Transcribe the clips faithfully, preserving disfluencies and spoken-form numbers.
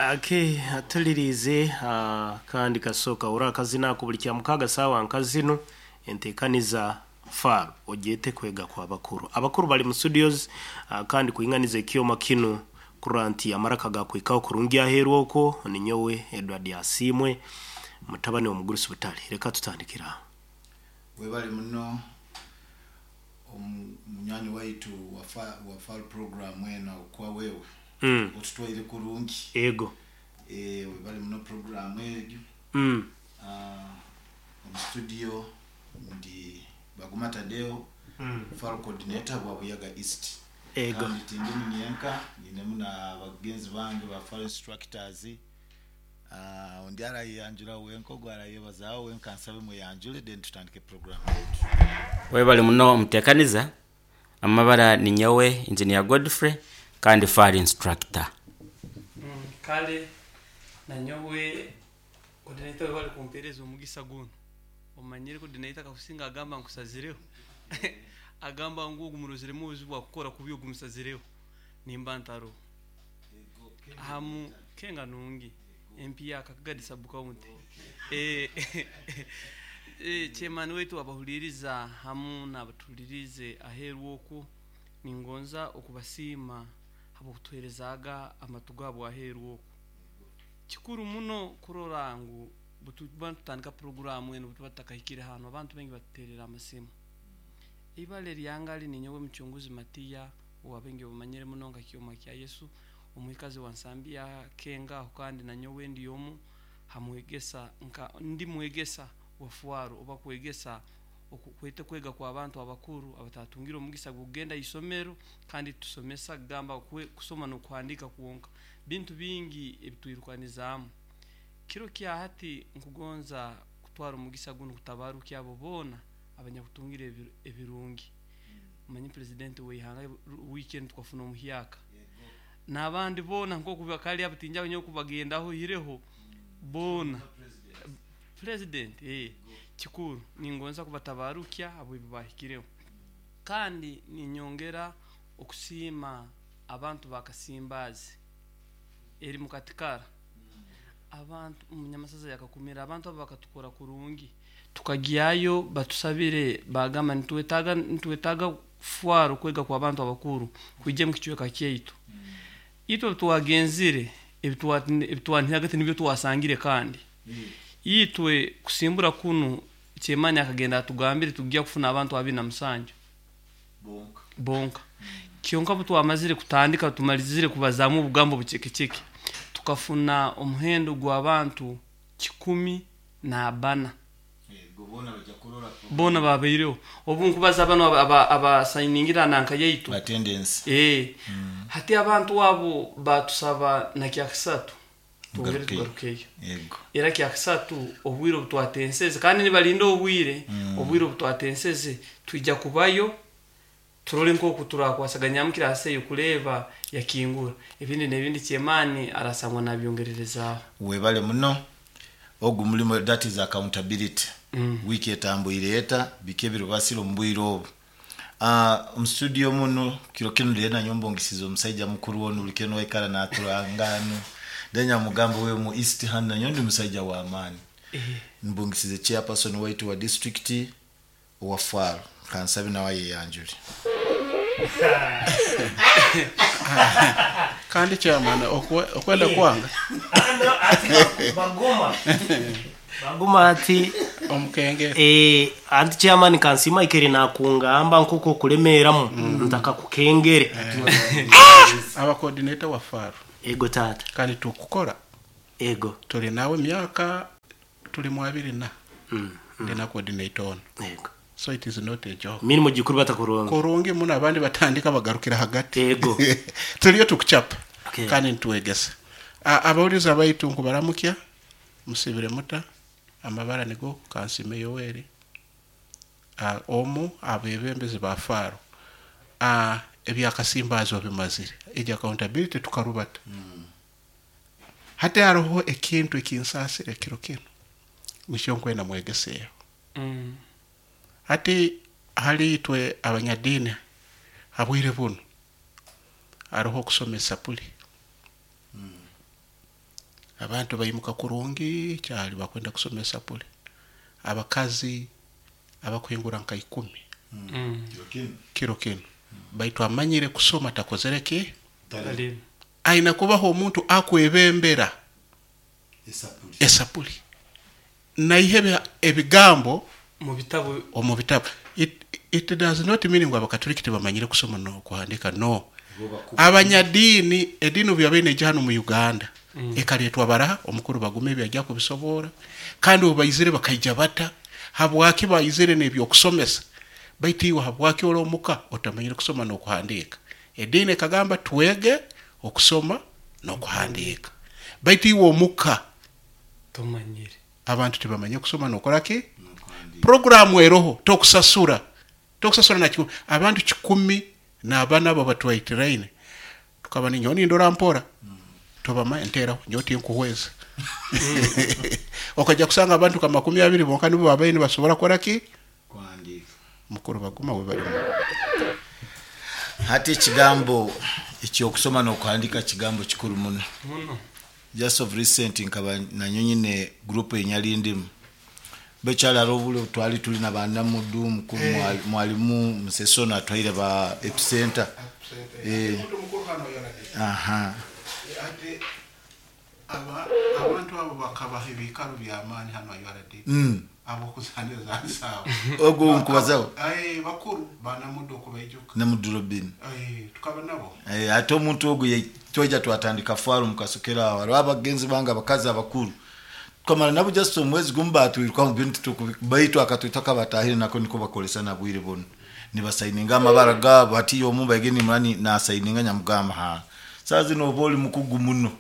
Ake atulirize ah, kandi kasooka ora akazina ako buli kya mukaaga saawa nkazino enteekaniza faro ogyete kwega kwa bakuru. Abakuru bali mu studios, ah, kandi kuinganiza ekyoma kinu kurora nti amaraka gakwikaho kurungi aheeru okwo ninyowe Edward Asiimwe, mutabani w'omugurusi Butale. Reka tutandikira aho. Webale muno omu- munywanyi waitu wa wa fal program eno kwa wewe Mm. otutwaire kurungi. Ego. Eh, webale muno program egyo. Mm. Ah, omu studio ndi Baguma Tadeo, Mm. fal coordinator bwa Buyaga East. Ego. Kandi tindi nyenka, ninemu na bagenzi bange ba fal instructors. Ah, undi arayanjura wenka, ogwo arayebazaho wenka, nsabe muyanjure then tutandike program yetu. Webale muno omuteekaniza. Amabara ni nyowe Engineer Godfrey kandi fire instructor. Mm, kale nanyowe coordinator bali kumpereza omugisa guno. Omanyire coordinator kakusinga agamba nkusazireho, agamba ngu ogumurozeremu obuzibu bwakukora kubi ogumusazireho nimba ntaro hamu kenga nungi empiya Kagadi sub county. Eh, eh, chairman wetu abahuliriza hamu n'abatulirize aheeru okwo, ningonza okubasiima habwokutuheerezaaga amatu gaabo aheeru okwo. Kikuru muno kurora ngu butuba tutandika programu eno butuba tutakahikire hano, abantu baingi batuterera amasimu. Ibale lyangali ninyowe Muchunguzi Matiya, owabengi bamanyire muno nka Kyoma kya Yesu, omwikazi wa Nsambya Kenga aho, kandi nanyowe ndi omu hamwegesa nka ndi mwegesa wa fuaro oba kwegesa oku- kwete kwega kwa abantu abakuru abatatungire omugisa gugenda isomero, kandi tusomesa gamba kwe, kusoma n'okuhandika kwonka bintu bingi ebitwirukanizaamu. Kiro kya hati nkugonza kutwara omugisa guno kutabarukia abo boona abanyakutungire ebiru- ebirungi. Manyi president w'ihanga weekend twafuna omuhyaka n'abandi boona nkoku bakali abatinja abanyoku bagendaho hireho boona president. Eh, kikuru ningonza kubatabarukya abo ebi bahikireho, kandi ninyongera okusiima abantu bakasimbazi eri mukatikara abantu omunyamasaza yakakumira abantu abo bakatukora kurungi, tukagyayo batusabire bagamba nitwetaaga nitwetaaga fwaro kwega kwa abantu abakuru kwija mu kicweka kyaitu. Itwe twagenzire ebitwanihiraga tinibyo twasangire, kandi itwe kusimbura kunu chairman akagenda atugambire tujya kufuna abantu abiri na musanju bonka bonka. Kyonka butwamazire kutandika tumalizire kubazamu obugambo bucekeceke, tukafuna omuhendo gw'abantu kikumi na bana. Ego, bona bajja kurora Bona babaireho obu nkubaza bano abasayiningira nanka yaitu attendance. Eh, hati abantu abo batusaba na kyakisatu tongere Mugarukeyo. tugarukeyo. Ego. Era kyakisatu obwire obutwatenseze, kandi nibalinda obwire obwire obutwatenseze twijja kubayo turole nkoku turakwasaganya kirase kureba yakingura ebindi n'ebindi. Chairman arasangwa nabyongererezaaho. Webale muno ogu mulimu, that is accountability. Mm. Wiki etambwire eta biki ebirubasire omu bwire obu. Uh, omu studio muno kiro kinu ndire nanyombongisiza omusaija mukuru onu buli kiro waikara naturangano then mugamba we mu East hand nanyo ndi musaija wa amaani. Eh, Mbungisize chairperson waitu wa district owa faro, kansabe nawe yeyanjule. Kandi chairman okwe- okwenda kwanga Baguma baguma ati omukenge. Eh, anti chairman kansima ikere nakungamba nkoko kulemeeramu ntaka kukengere. Aba coordinator wa faro. Ego tata. Kandi tukukora. Ego. Tuli nawe myaka tuli mu abiri na Mm, ndi na coordinator ono. Ego. So it is not a joke. Mirimo gikuru batakurungi. Kurungi muno, abandi batandika bagarukira hagati. Ego. Tuliyo tukuchapa. Okay. Kandi nituwegesa. A- abawuliza baitu nkubaramukya, musibire muta. Amabara nigo Kansime Yoweri, Ah, omu abebembezi ba faro. Ah, ebyakasimbazo bimazire egyo accountability tukarubata. Hati hariho ekintu ekinsasire kiro kino nikyo nkwenda mwegeseeho. Mm. Hati hali itwe abanyadiini habwire buno hariho okusoma esapuli. Abantu baimuka kurungi kyali bakwenda kusoma esapuli. Abakazi abakuhingura nka ikumi Mm. kiro kinu. Baitu amanyire kusoma takozere ki? Talimu. Aina kubaho omuntu akwebembera esapuli esapuli. Naihe ebigambo Mu bitabo omu bitabo. It, it does not mean ngu abakatoliki tebamanyire kusoma n'okuhandika, no. Abanyadiini, ediini obu yabaire neija hano mu Uganda, Mm. ekareetwa baraha, omukuru Bagume ebi ajja kubisoboora, kandi obu baizire bakaija bata, habwaki baizire n'ebyokusomesa, baitu iwe habwaki ori omuka otamanyire kusoma n'okuhandiika. Ediini ekagamba twege okusoma n'okuhandiika, baitu iwe omuka tomanyire. Abantu tebamanye kusoma n'okora ki? Programu eroho tokusasura, tokusasura na kikumi. Abantu kikumi n'abana abo batwaitiraine tukaba ninyowe nindora mpora tobama nteraho nyowe tinkuhweza. Okajja kusanga abantu ka makumi abiri bonka nibo babaire nibasobora kukora ki? Kuhandiika. Mukuru Baguma we balimu. Hati ekigambo ekyokusoma n'okuhandika kigambo kikuru muno. Muno. Just of recent nkaba nanyo nyine group enyali ndimu bekyalala obule twali tuli na banamudu mukuru mwali- mwalimu musesono atwaire ba epicenter. Eh. Aha. Abantu abo bakabaha ebikaro by'amaani hano U R D. Mm. Abokuzaniza nsaabo. Ogwo nkubazaho. Bakuru banamudu okubaijuka. Namudu Robin. Tukaba nabo. Eh, ate omuntu ogwo ye- twajja twatandika faaru mukasokera awo hariho abagenzi bange abakazi abakuru tukamara nabo just omwezi gumu batwiruka mu bintu tukubi- baitu akatwita kabatahire nako niko bakolesa na bwire buno nibasayininga amabara gaabo. Hati omu baige nimurani nasayininga nyamugamba ha saa zino oba oli mukugu muno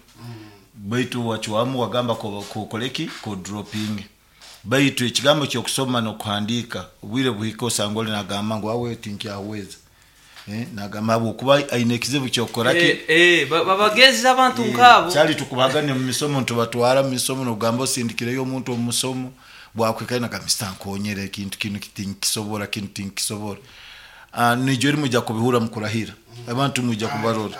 baitu wachwamu wagamba ko- kokoleki ko dropping. Baitu ekigambo kyokusoma n'okuhandiika obwire buhika osanga oli nagamba ngu awe tinkyaweza. Eh, nagamba habwokuba aine ekizibu kyokukoraki. Eh, eh, ba- babagezi abantu nkabo. Kyali tukubagane mu misomo ntubatwara mu misomo nogamba osindikireyo omuntu omu musomo bwakwikayo nagamba mr nkonyere ekintu kinu tinkisobora kinu tinkisobora. Ah, nijo eri mujja kubihura mukurahira abantu mujja kubarora.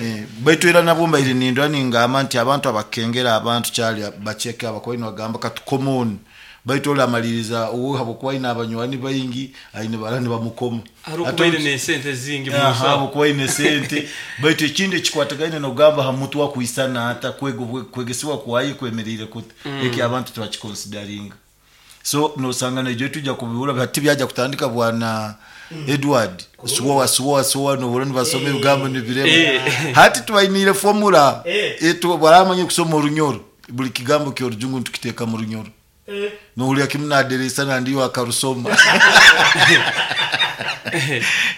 Eh, baitu era nabwo mbaire nindwa ningamba nti abantu abakengera abantu kyali bacheke abakoyi nibagamba katukomoni baitu oli amaliriza uwe habwokuba aine abanywani baingi aine barani bamukoma. Hari Ate okubaire n'esente zingi mu Aha, nsawo. habwokuba aine sente. Baitu ekindi ekikwatagaine nogamba ha muntu wakwisana ata kwega kwegesibwa kwaye kwemerire kuta eki abantu tibakikonsidaringa. So nosanga nejo tujja kubihura hati byajja kutandika bwana Edward suwa suwa suwa no nibasoma ebigambo nibirema. Eh. Hati tubainire formula Eh. etu baramanye kusoma orunyoro buli kigambo kyorujungu ntukiteeka mu runyoro nohulira kimu naderesa nandiyo akarusoma.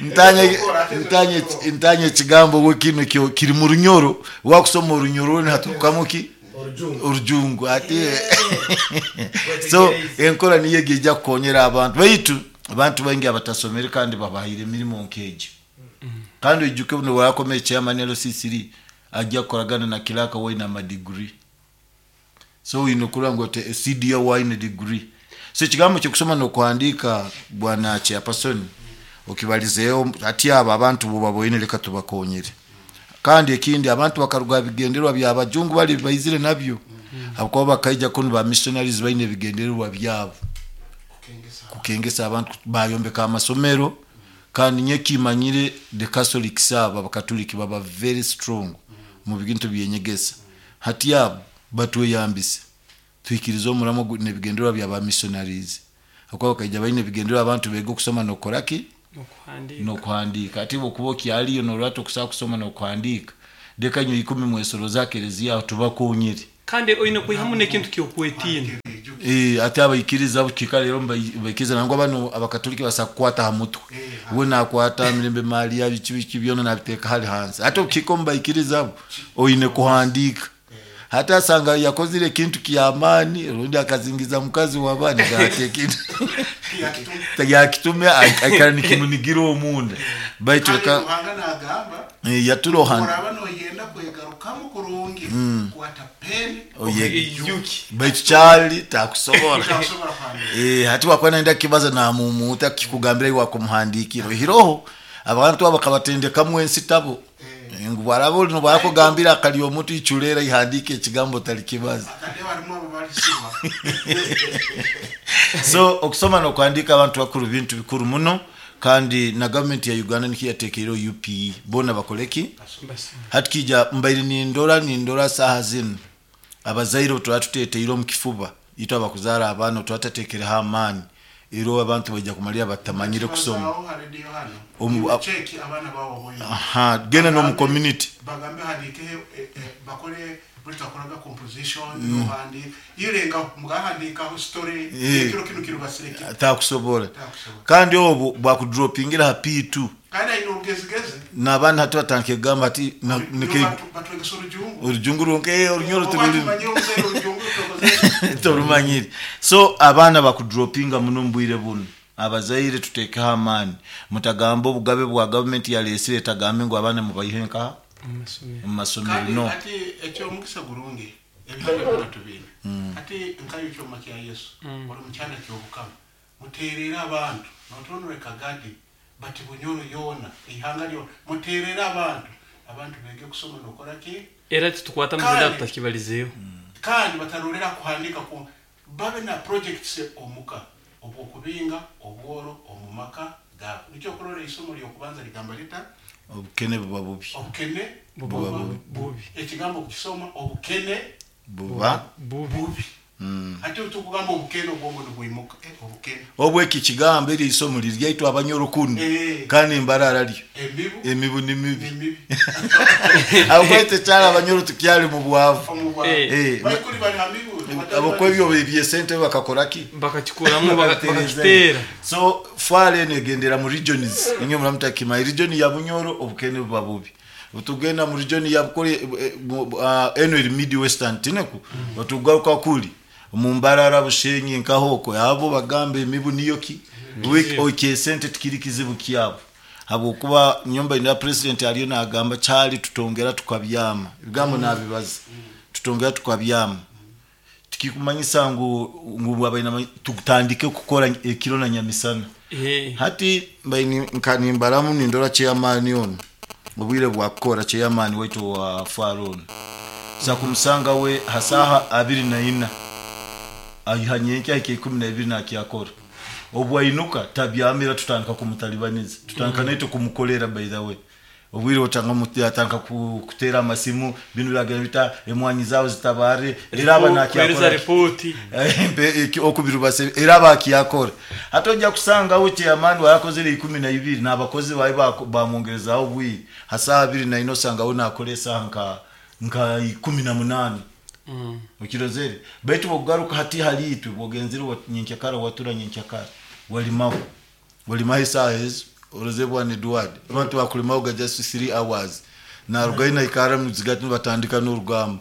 Ntanye ntanye ntanye ekigambo we kino kyo kiri mu runyoro wakusoma orunyoro ni ki orujungu ati. So enkora niyo ejja kukonyera abantu baitu abantu baingi abatasomere kandi babahire emirimu nkeegi. Kandi oijuke buno bwakomeye chairman L C three ajja kukoragana na kiraka waine amadiguri. So oyine okurora ngu ote C D O waine degree. So ekigambo kyokusoma n'okuhandiika bwana chairperson okibalizeeho ati abo abantu bo baboine leka tubakonyere. Kandi ekindi abantu bakaruga bigendererwa by'abajungu bali baizire nabyo habwokuba bakaija kunu ba missionaries baine ebigendererwa byabo kukengesa abantu bayombeka amasomero. Kandi nye kimanyire the Catholics aba abakatoliki baba very strong mu bintu byenyegesa. Hati abo batweyambise twikirize omuramo gu-, n'ebigendererwa bya ba missionaries habwokuba bakaija baine ebigendererwa abantu bege okusoma n'okukoraki n'okuhandiika. N'okuhandiika. Ati bwokuba okyaliyo n'orwata okusobola kusoma n'okuhandiika leka nyo ikumi mwesoro za kereziya aho tubakonyere. Kandi oyine kwihamu n'ekintu ky'okwetiina. Eh, ate abaikiriza bukika rero mbaikiriza nangwa bano abakatoliki basa kukwata ha mutwe we nakwata mirembe mali ya biki biki byona nabiteeka hali hansi. Ate okukika omubaikiriza abo oyine kuhandiika. Hata asanga yakozire ekintu kyamaani rundi akazingiza mukazi w'abaana gate ekintu yakitume aikara nikimunigira omunda baitu Kandi reka Ruhanga nagamba, Eh, yaturohana. Oraba noyenda kwegarukamu kurungi, kwata peni, Oye. Ijuki. Baitu kyali takusobola. Takusobola kuhandiika. Eh, hati wakuba nenda kibaza namumuta kikugambira iwe wakumuhandikira. Hiroho abantu abo bakabatendekamu ensitabo. Ngu bwaraba oli nobwakugambira akali omuntu ichulera ihandike ekigambo talikibaza. Atade barimu abo balisiba. So okusoma nokuhandika abantu bakuru bintu bikuru muno, kandi na gavumenti ya Uganda nikiyo yatekeire U P E bona bakoleki hatikija mbaire nindora nindora saha zino abazaire twatuteteire omu kifuba itwe abakuzara abaana twatatekereho amaani ero abantu bajja kumalira batamanyire kusoma. Omu check abaana bawo boyo. Aha, genda no mu community bagambe handike bakore buri composition no handi irenga mugahandika ho story ekiro kino kiro basireke atakusobora. Kandi obu bwakudropingira ha P two kandi ayino rugezigeze nabana hati batanke gamba ati batwegesa urujungu urujungu ronke urunyoro tuli torumanyire. So abaana bakudropinga muno mbwire buno abazaire tutekaho amaani mutagamba obugabe bwa government ya lesire tagambe ngo abaana mubayihenka mu masomero no. Ati ekyo omukisa gurungi ebihanga byona ati nkayo kyoma kya Yesu oli mukyana kyobukama muterera abantu notonore kagadi bati Bunyoro yona ihanga lyo muterera abantu abantu bege kusoma nokora ki era tukwata muzida tutakibalizeyo kandi batarolera kuhandika ku babe na projects omuka obwokubinga obworo omumaka ga nicyo kurora isomo lyo kubanza ligamba lita obukene buba bubi obukene buba bubi ekigambo kusoma obukene buba bubi mm. Ate utukugamba obukene obwongo nibwimuka eh obukene obweki kigambo eri isomo liryaitwa abanyoro kuno eh. Kandi mbarara lyo emibu emibu ni mibi akwete cyara abanyoro tukyali mu bwavu eh bayikuri bari hamibu abakwebyo bibye sente bakakora ki bakakikuramo bakakitera. So fale negendera mu regions inyo muramutaka region ya Bunyoro obukene buba bubi utugenda mu region ya Bukore eno eri mid western tineku batugaruka kuli mu Mbarara Bushenyi nkahoko abo bagambe emibu niyo ki week okay sente tikiri kizibu kyabo habwokuba nyumba ina president aliyo nagamba cyali tutongera tukabyama ibigambo nabibaza tutongera tukabyama tikikumanyisa ngu ngu abaina tutandike kukora ekiro na nyamisana eh hati mbaini nkanimbaramu nindora chairman ono obwire bwakora chairman wetu wa Faron za kumusanga we hasaha abiri na ina ayihanyenke ayike ikumi na ibiri nakyakora obwainuka tabyamira tutandika kumutalibaniza tutandika naito kumukolera by the way obwire otanga mutatanga kutera amasimu binu byagenda bita emwanyi zawo zitabare era aba nakyakora report okubirubase era abakyakora atojja kusanga we chairman warakozere ikumi na ibiri nabakozi bayi bamwongerezaho obwire hasaha abiri na ino sanga we nakolesa nka nka ikumi na munani mm. Ukirozere baitu bogaruka hati halitwe bogenzire nyenkyakara watura nyenkyakara walimaho walimaho isaha ezo orozebwa ni Edward abantu bakulimaho ga just three hours na rugaina ikara muzigati batandika n'urugamba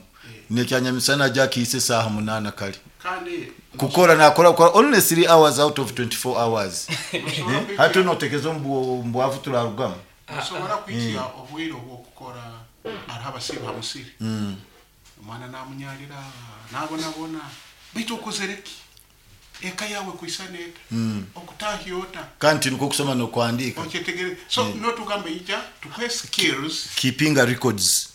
nekyanyamisana ajya kise saha munana kali kandi kukora nakora kukora only three hours out of twenty-four hours hati notekezo mbwavu turarugamba ushobora kwikiya obwire obwo araba siba musiri mm. Omwana namunyalira nabona bona bitu okozereki eka yawe kuisaneta mm. okutahiota kandi niko kusoma no kuandika ochetegere so mm. no tugambe ija tukwe skills keeping records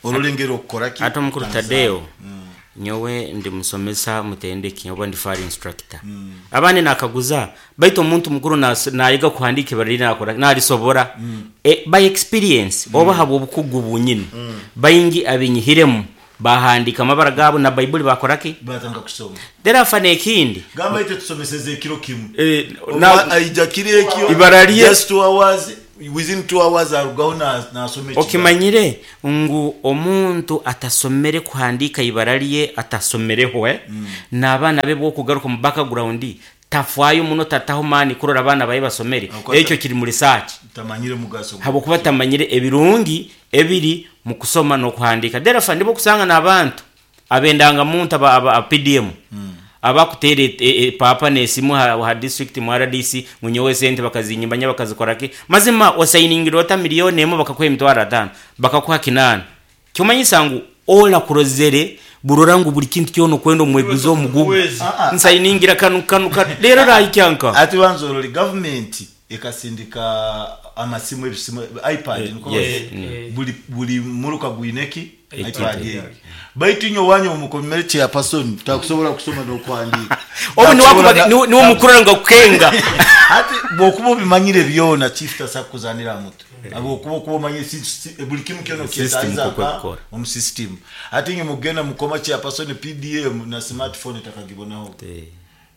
orolengero okukora ki ato mukuru Tadeo mm. Nyowe ndi musomesa mutendeki oba ndi fire instructor mm. Abane nakaguza baitu omuntu mukuru nayiga kuhandika bari nakora nalisobora mm. E, by experience mm. Oba habo obukugu bunyini mm. Bayingi abinyihiremu bahandika amabara gabo na Bible bakoraki batanga kusoma therefore nekindi gamba ite tusomeseze ekiro kimu e, na aija kire ekyo ibaraliye just two hours within two hours arugaho na nasome okimanyire ngu omuntu atasomere kuhandika ibaraliye atasomereho eh mm. Nabana be bwo kugaruka mu background tafwayo muno tataho mani kurora abana baye basomere ekyo kiri mu research tamanyire mugaso habo kuba tamanyire ebirungi ebiri mu kusoma no kuhandika therefore ndibo kusanga nabantu abendanga muntu aba, aba P D M mm. Abakutere e, e, papa nesimu ha, ha district mu R D C munyowe sente bakazinyimba bakazikorake mazima osayiningira ota milioni emo bakakuha emitwaro atano bakakuha kinana kyomanyisa ngu ola kurozere burora ngu buli kintu kyono kwenda omweguzo omugugu nsayiningira kanu kanu lero rayikyanka ati banzorori government Ekasindika amasimu, ebisimu, iPad. Eh, niko yes. bali- Mm. buli buli muruka gwineki Ekintu. iPad egi. Baitu inyo wanyu omukomere chairperson takusobola kusoma n'okuhandiika. Obu niwe Takusobola akuba- na- niwe niwe mukurora nga kukenga. Ati bwokuba obimanyire byona, chief tasakuzanira mutu abwokuba okuba omanyire si- si- buli kimu kyona System kyetaiza koko aka ekukora. omu system. Ati inye mugenda mukoma chairperson P D M na smartphone takagibonaho.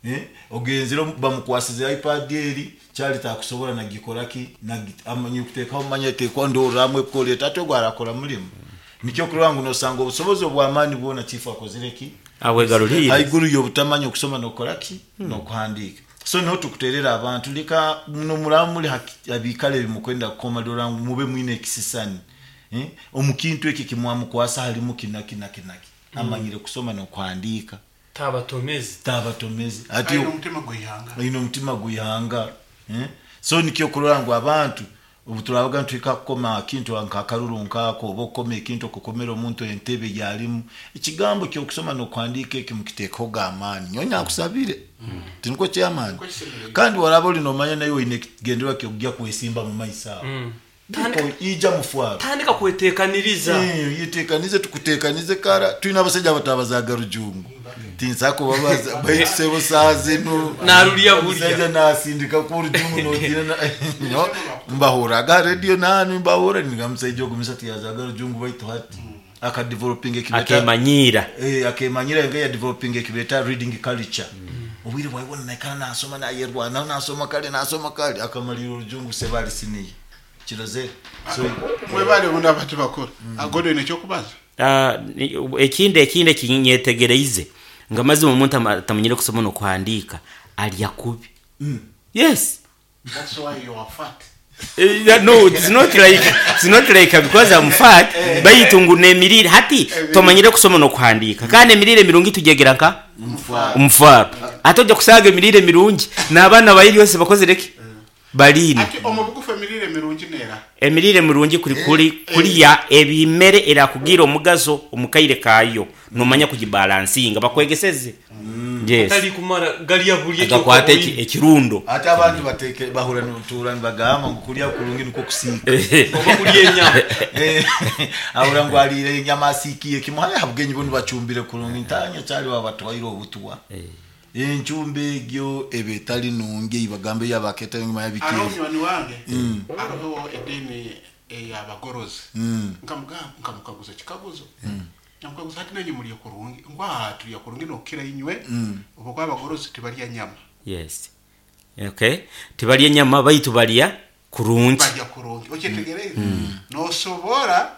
Eh, ogenzire bamukwasize iPad eri kyali takusobola nagikoraki, amanyi kuteekaho manya tekwa ndorramu ekukoleta ate ogwo arakora mulimu. Nikyo kurora ngu nosanga obusobozi obw'amaani bwona chief akozire ki Abwegarulire. Haiguru y'obutamanya okusoma n'okukoraki n'okuhandiika. So niho tukuterera abantu leka muno muraba muli haki- abikale ebimukwenda kukoma, dora ngu mube mwine ekisisani. Eh, omu kintu eki kimwamukwasa halimu kinaki naki naki, amanyire kusoma n'okuhandiika. Tabatomezi. Tabatomezi ati. Aine omutima gw'ihanga. Aine omutima gwihanga. Eh? So nikyo kurora ngu abantu obu turabaga nituhika kukoma akintu nkakaruru nkaako, oba okukoma ekintu okukomera omuntu entebe gyalimu, ekigambo kyokusoma n'okuhandiika eki mukiteekaho amaani. Nyowe nyakusabire tiniko kyamaani, kandi waraba oli nomanya naye oine ekigendererwa kyokujya kwesimba mu maiso aho. Niko ija mufwaro. Tandika kwetekaniriza. Eh, yitekanize, tukutekanize kara. Tulina abasajja abatabazaga rujungu, tinsakubabaza, baitu sebo saa zino Narulya bulya. omusajja nasindika ku rujungu nogira na- no mbahuraga radio nanu mbahura ninga musajja ogumisa tiyazaga rujungu, baitu hati akadeveloping ekibeta Akemanyira. eh akemanyira nga ya developing ekibeta reading culture. Obwire bwaibona naikara nasoma, nayerwana nasoma kale nasoma kale, akamalira orujungu sebali siniye kirozere. So Mwebale bundi abantu bakuru agodo ine ekyokubaza. Ah, ni- ekindi ekindi ekinyetegereize nga mazima omuntu ama- atamanyire kusoma n'okuhandiika alya kubi. Yes. That's why you are fat. Eh, yeah, no, it's not like it's not like because I'm fat, baitu ngu nemirire hati tomanyire kusoma n'okuhandiika, kandi emirire mirungi tujegera nka omufaro, ate ojja kusanga emirire mirungi n'abaana bayiri yose bakozere ki baliine. Ati omu bugufu emirire mirungi neera? Emirire mirungi kuri kuri kuriya ebimere erakugira omugaso omukaire kayo, nomanya kugibalansinga bakwegeseze. Yes. Atali kumara galya bulya. Agakwata eki- ekirundo. Ate abantu bateke bahura nutura nibagamba ngu kulya kurungi niko kusiika. Oba kulya enyama. Eh, ahura ngu alire enyama asiikiye kimu haya habugenyi bo nibacumbire kurungi ntanya kyali babatwaire obutwa, enchumba egyo eba etali nungi eibagambe yabaketa nyuma Hariho yabikere. munywani wange, hariho ediini ey'abagorozi, nkamugamba, nkamukaguza ekikaguzo, nkamukaguza ati nanyu mulya kurungi? Ngu aha tulya kurungi nokukira inywe, oba kwa abagorozi tibalya nyama. Yes, okay, tibalya enyama baitu balya kurungi. Balya kurungi, okyetegereze, nosobora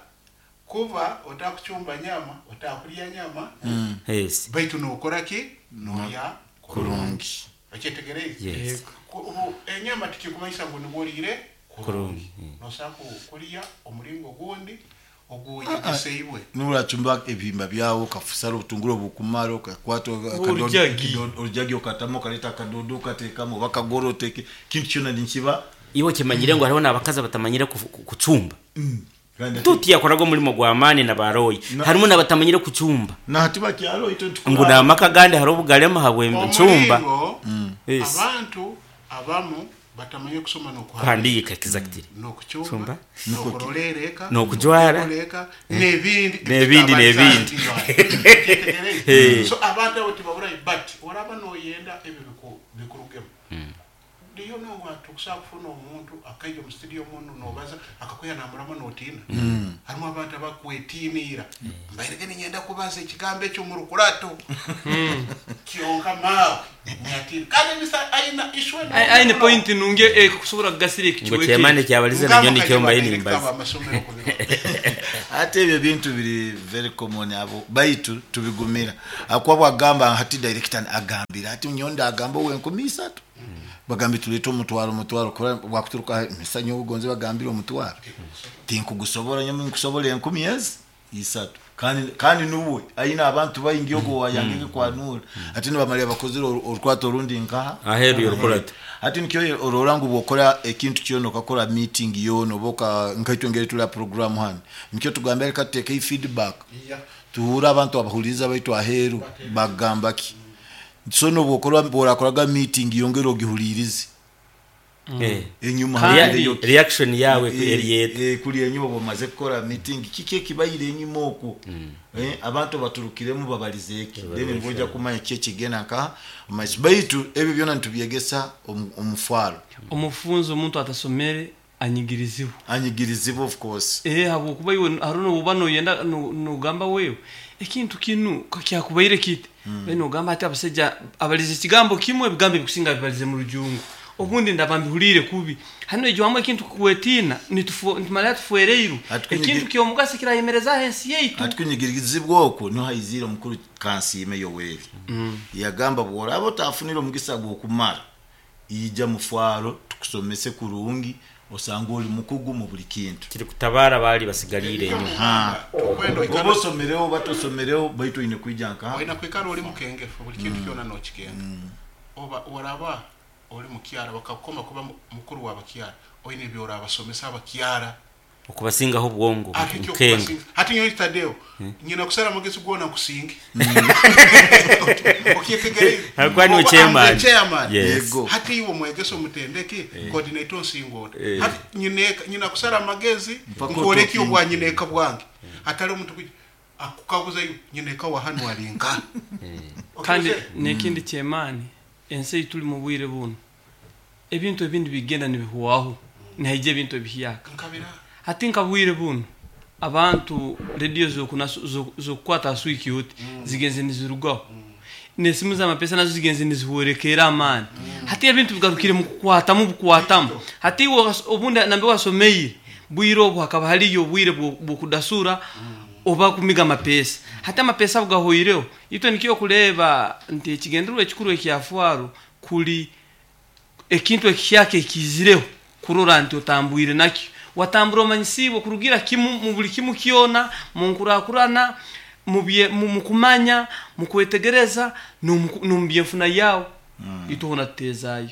kuba otakucumba nyama, otakulya nyama, Yes. baitu nokora ki? Nolya kurungi, okyetegereze. Yes. Ku- ubu enyama tikikumanyisa ngu niwe kurungi. Kurungi. Nosobola ku- kulya omulingo gundi oguyegeseibwe. Nuracumba ebihimba byawo, okafusara obutunguru obukumara, okakwata Orujagi. orujagi okatamu, okaleta akadodo okateekamu, oba akagoro oteke, kintu kyona nikiba. Iwe kimanyire ngu hariho n'abakazi abatamanyire kufu- ku- kucumba. Kandi ati- Tuti yakoraga omulimo gw'amaani nabaroyi, harimu n'abatamanyire kucumba. Nahati bakyalo ito. Ngu n'amaka gandi hariho obugalema habw'encumba. Omulingo Yes. abantu abamu batamanye kusoma n'okuhandiika, Kuhandiika, exactly. n'okucumba, Cumba. n'okurolereka, N'okujwara. n'okukoleka, n'ebindi. N'ebindi, n'ebindi. Kyetegereze. So abantu abo tibaburayo, but oraba noyenda ebyo biku- bikurugemu ndiyo nongwa tukusobola kufuna omuntu akaija omu studio muno nobaza akakuya namurama notiina. Harimu abantu abakwetiniira, mbairege ninyenda kubaza ekigambo ekyo mu rukurato kyonka maawe nyatiina, kandi emisa aina ishwe. Aine point nungi ekusobola kugasira Ngo ekikiweke. kyemani kyabalize nanyo nikyo mbaye nimbaza. Amasomero kubiro. Ate ebyo bintu biri very common abo, baitu tubigumira akuba bwagamba hati director agambira ati nyonda agamba owenkumi isatu, bagambe tulete omutwaro, omutwaro kora bwakuturuka misanyo obugonze bagambire omutwaro tinkugusobola, nyowe nkusobola enkumi ezi isatu. kandi kandi nuwe aina abantu baingi ogo wayangeke kwanura ati nibamalira bakozere oru- orukwato orundi nkaha Aheeru y'orukurato. Ati nikyo orora ngu bwokora ekintu kyona, okakora meeting yona, oba oka- nkaitwe ngeri tuli program hano, nikyo tugamba reka tuteeke feedback, tuhure abantu abahuliriza baitu aheeru bagamba ki. So nobwokora bworakoraga meeting, yongera ogihulirize. Eh. Enyuma Kandi- harugireyo ki? Reaction yawe Eh, eriyeta. eh, kuli enyuma bwamaze kukora meeting kiki ekibaire enyuma okwo? Eh, abantu baturukiremu babalize eki, then nibojja kumanya ki ekigenda nka maiso. Baitu ebyo byona nitubyegesa omu- omufwaro. Omufunzi omuntu atasomere anyigirizibwa. Anyigirizibwa, of course. Eh, habwokuba iwe hariho nobuba noyenda no- nogamba wewe ekintu kinu kakyakubaire kiti, mm. nogamba ati abasajja abalize ekigambo kimwe, ebigambo ebikusinga bibalize mu rujungu, obundi ndaba mbihulire kubi. Hano ejo hamwe ekintu kukwetiina nitufu- nitumara tufuereiru. Ati kunyigi- ekintu kyomugaso kirayemerezaho ensi yaitu. Ati kunyigirizibwa okwo niho haizire omukuru Kansiime Yoweri, yagamba bworaba otafunire omugisa gw'okumara, ija mufwaro tukusomese kurungi, osanga oli mukugu mu buli kintu. Kiri kutabara bali basigalire enyuma. Okwenda Oba oikara osomereho oba tosomereho, baitu oine kwija nka olina kwikara oli mukengefu, buli kintu kyona nokikenga. Oba oraba oli mukyara bakakukoma kuba mu- mukuru w'abakyara, oine ebyorabasomesa abakyara. Okubasingaho obwongo. Ate ekyo mukenga. okubasinga. Hati nyowe Tadeo nyina kusara amagezi gwona nkusinge okyetegereze. Hakuba niwe Oba chairman. I'm the chairman. Yes. Yego. Hati iwe omwegesa omutendeke coordinator onsinga ota? Hati nyineka nyina kusara amagezi Mpaka nkoreki otokinge. obwa nyineka bwange, hatali omuntu kuja akukaguzayo nyineka wa hanu alinka. Kandi nekindi kyemaani, ensi ei tuli mu bwire buno, ebintu ebindi bigenda nibihwaho, nihaija ebintu ebihyaka. Nkabira. Hati nka bwire buno abantu rediyo zokukwata aswiki oti zigenze nizirugaho, nesimu z'amapesa nazo zigenze nizihwerekera amaani. Hati ebintu bigarukire mu kukwatamu bukwatamu. Hati iwe was- obundi nambe wasomeire bwire obu hakaba haliyo obwire bwo- bwokudasura oba kumiga amapesa. Hati amapesa bugahoireho, itwe nikyo kureba nti ekigendererwa ekikuru ekyafwaro kuli ekintu ekihyaka ekizireho, kurora nti otambwire nakyo, watambura omanyisibwe kurugira kimu mu buli kimu kyona, mu nkurakurana, mu bye- mu mu kumanya, mu kwetegereza, n'omu n'omu byenfuna yawe. Itwe tutezayo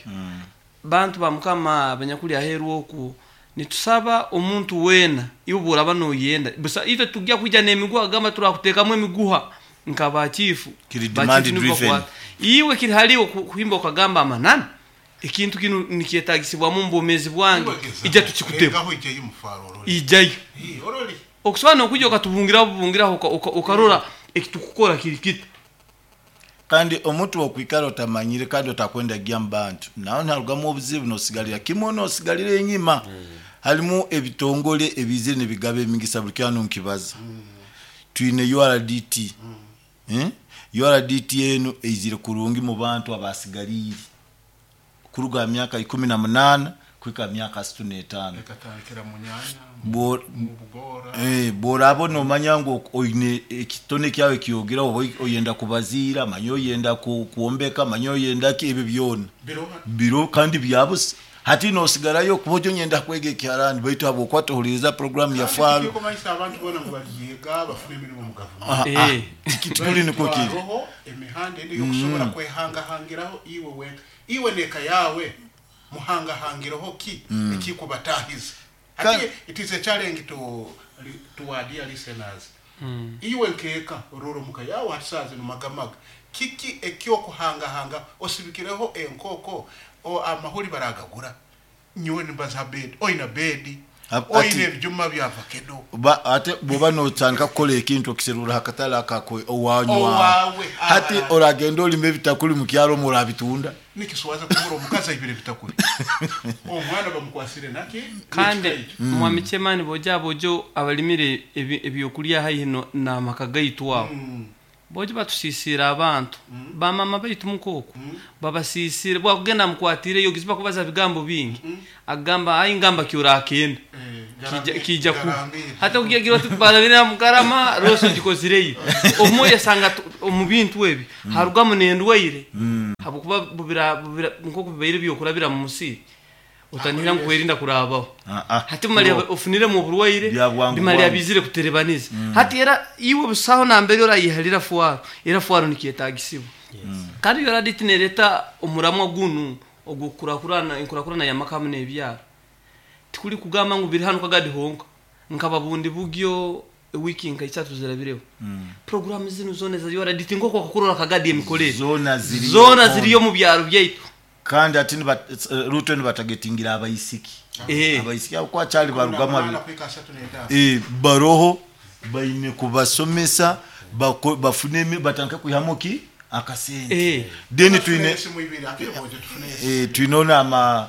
bantu ba Mukama abanyakuli aheru oku, nitusaba omuntu wena iwe bworaba noyenda busa, itwe tujja kwija n'emiguha, gamba turakutekamu emiguha nka bachifu. Kiri Bachifu demand nibo driven. bakwata. Iwe kiri haliwo ku- kuhimba ukagamba amanani ekintu kinu nikyetagisibwamu mu bwomezi bwange, ija tukikutema. Ngaho ijayo mufaro oroli. Ijayo. Ii, oroli. Okusobola nokuja okatubungiraho bubungiraho uka- uka- ukarora ekitukukora kiri kita. Kandi omuntu okwikara otamanyire kandi otakwenda gya mu bantu, nawe nharugamu obuzibu, nosigalira kimwe, nosigalira enyima. Halimu ebitongole ebizire nibigaba emigisa, buli kyano nkibaza. Twine U R D T. Eh? U R D T enu eizire kurungi mu bantu abasigalire kuruga myaka ikumi na munana kwika myaka asatu n'etaano. Ekatandikira mu nyanya, Bo- mu bugora. Eh, bworaba nomanya ngu oine ekitone kyawe kyogera, oba oyenda kubaziira, manya oyenda ku- kwombeka, manya oyenda ki, ebyo byona biroha. Biro kandi byabusa. Hati nosigarayo kuba ojo nyenda kwega ekiharani, baitu habwokuba tohuliriza programu ya faro. Kumanyisa abantu bona ngu balyega bafune emirimu mu gavumenti. Ah, ah, Eh. tikuli niko kiri. Hariho emihanda endi yokusobola kwehangahangiraho iwe wenka, iwe neka yawe muhangahangireho ki ekikubatahiza. Hati it is a challenge to to our dear listeners. Iwe nkeeka ororo muka yawe hatisaze numagamaga kiki ekyokuhangahanga osibikireho enkoko o amahuri baragagura, nyowe nimbaza bedi oina bedi Ap- oina ati- ebijuma bya vakedo. Ba- ate bwoba notandika kukola ekintu okiserura hakatale akakwe owanywa. Owawe, hati abarara. oragenda olima ebitakuli mukyalo omwo orabitunda. Nikiswaza kubura omukazi aibire bitakuli, omwana bamukwasire naki. Kandi Nekikaija. mwami chemani, boja bojo abalimire ebi- ebyokulya haihi no- n'amaka gaitu aho, bojo batusisira abantu bamama baitu mukoko babasisire bwakugenda mukwatireyo giziba kubaza bigambo bingi, agamba ayi ngamba kyorakenda. Eh, kija garambi- kija ku garambire. hata kugira oti barabira mukarama roso gikozireyo omwe yasanga tu- omu bintu ebi harugamu nendwaire, habwokuba bubira bubira nk'oku bibaire byokurabira mu musiri, otanihira nkuwerinda kurabaho. Ah, ah. Hati bimali ofuniremu oburwaire. Bya bwangu bimali bwangu. abizire kuterebaniza. Hati era iwe busaho nambere orayihalira fwaro, era fwaro nikyetagisibwa. Kandi yoraditi nereta omuramwa gunu ogwokurakurana, enkurakurana yamakamu n'ebyaro, tikuli kugamba ngu biri hano kagadi honka nkaba bundi bugyo wiki nka isatu zirabireho programu zino zona za yoraditi nkoko akakurora kagadi emikolere. Zona ziriyo. Zona ziriyo mu byaro byaitu. Kandi ati niba- Ruto nibatagetingira abaisiki. Eh. Abaisiki abo kwakyali barugamu abi- kuhika asatu n'etaano. Eh, baroho baine kubasomesa bako- bafune emi- batandike kwihamu ki akasente. Eh. Then Tufune twine esimu ibiri, akiri bwojo tufune esimu. eh, twine ama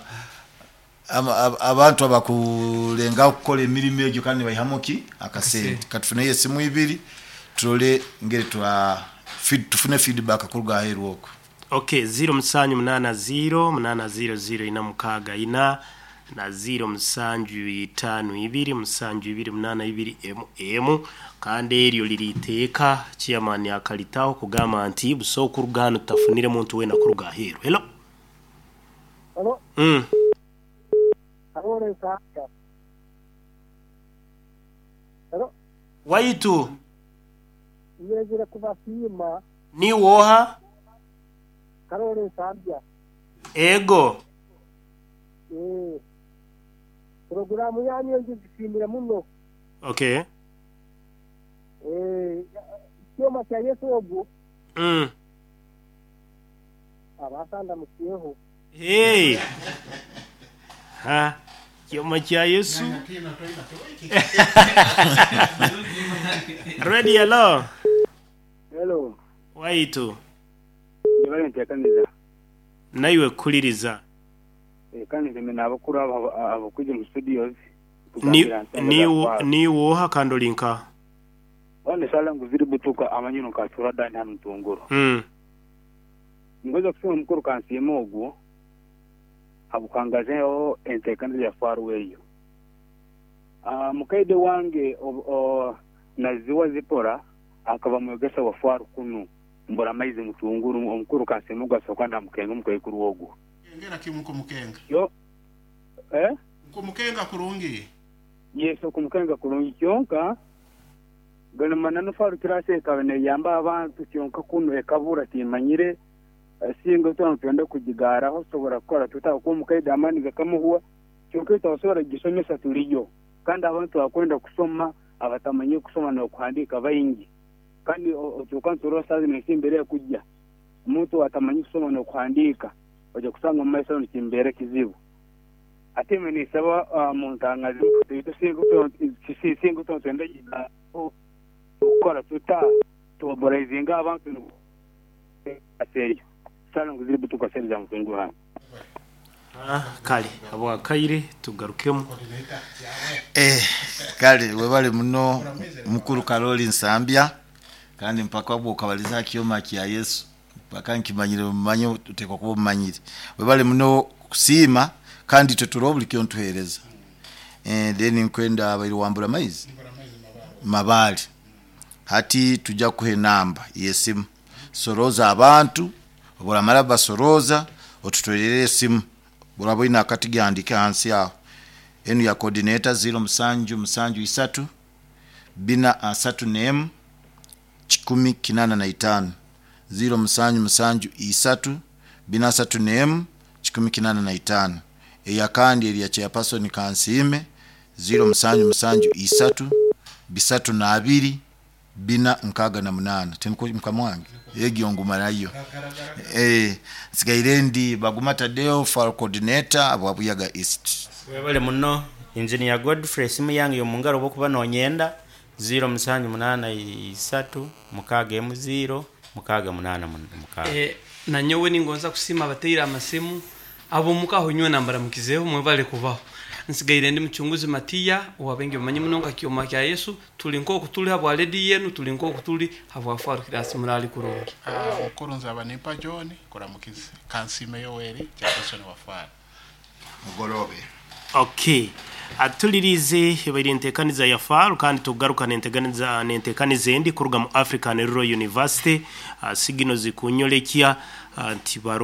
ama- ab- abantu abakulenga kukola emirimu egyo kandi baihamu ki akasente. Katufuneyo esimu ibiri turole ngeri twa feed- tufune feedback kuruga aheru okwo. Okay, ziro musanju munana ziro munana ziro ziro ina mukaaga ina na ziro musanju itaano ibiri musanju ibiri munana ibiri emu emu. Kandi eryo liri iteeka chairman akalitaho kugamba nti buso okuruga hano tutafunire muntu wena kuruga aheeru. Hello. Hello, mm. Karole Nsambya. Hello, Waitu nyezire kubasiima. Ni woha? Karole Nsambya. Ego. Eh. Programu yanyu ngisiimire muno. Okay. Eh, kyoma kya Yesu ogwo mm. abasanda mukiyeho. Hey. Ha, kyoma kya Yesu. Ready, hello. Hello, Waitu ndibale nteekaniza. Naiwe kuliriza. Eh, kandi nze n'abakuru abo abakujja mu studios. Ni ni ni woha kandi olinka? Wane sala nguziri butuka amanyino nkatura dani hano ntunguro. Mm. Ngoza kusema mukuru kansiima ogwo abukangazeho enteekaniza ya faru eyo. Uh, mukaide wange o, o, naziwa zipora akaba mwegesa wa faru kunu mbora maizi mutunguru omukuru kansiima ogwo asooka ndamukenga omukaikuru ogwo. Ngera kimu nkumukenga. Yo eh Nkumukenga kurungi. Yesu kumukenga kurungi kyonka gano manano faru kirase ekaba neyamba abantu kyonka kuno ekabura timanyire singa twana twenda kugigaraho sobola kukola tuta kuba omukaide amaani gakamuhuwa kyonka etabasobola kugisomesa tuliyo kandi abantu bakwenda kusoma abatamanyi kusoma n'okuhandiika baingi kandi otuuka nturola saazi nekimbere ekujja omuntu atamanyi kusoma n'okuhandiika ojja kusanga omu maiso nikimbeera kizibu. Ate ime nisaba uh, muntangazi tuitu singa twenda kukola tuta tumobilizinga abantu aseyo sala nguziri butuka sente za mutunguru hano. Ah, kale abwakaire tugarukemu. Eh, kale webale muno mukuru Karoli Nsambya kandi mpaka bwo kabaliza kyoma kya Yesu mpaka nkimanyire mumanye utekwa kuba mumanyire. Webale muno kusiima kandi teturo buli kyo ntuhereza. Eh, then nkwenda abairi wambura maizi mabali hati tujja kuhe namba yesimu soroza abantu oburamara basoroza otutwerere esimu burabo ina akati gandike hansi aho enu ya coordinator zero musanju musanju isatu bina asatu nemu kikumi kinana na itano zero musanju musanju isatu bina asatu nemu kikumi kinana na itano eya kandi eri ya chairperson Kansiime zero musanju musanju isatu bisatu na abiri bina nkaga na munana tenko mkamwange egyo ngumarayo eh sigaire ndi Baguma Tadeo for coordinator abwabuyaga East. Webale muno engineer Godfrey esimu yange yomungaro bwokuba nonyenda ziro musanju munana isatu mukaaga emu ziro mukaaga munana mun- mukaaga. Eh, nanyowe ningonza kusima abateire amasimu abo mukaho nywe nambara mukizeho mwebale kubaho. Nsigaire ndi muchunguzi Matiya owabengi bamanyi muno nka kyoma kya Yesu tuli nk'oku tuli habwa ledi yenu tuli nk'oku tuli habwa faru kirasi murali kurungi. Ah, mukuru nzaba nimpa John kuramukize Kansiime Yoweri chairperson wa faru. Mugorobe. Okay, atulirize ebaire enteekaniza ya faru kandi tugaruka nenteekaniza nenteekaniza endi kuruga mu African Rural University. Uh, sigino zikunyolekya uh, nti baro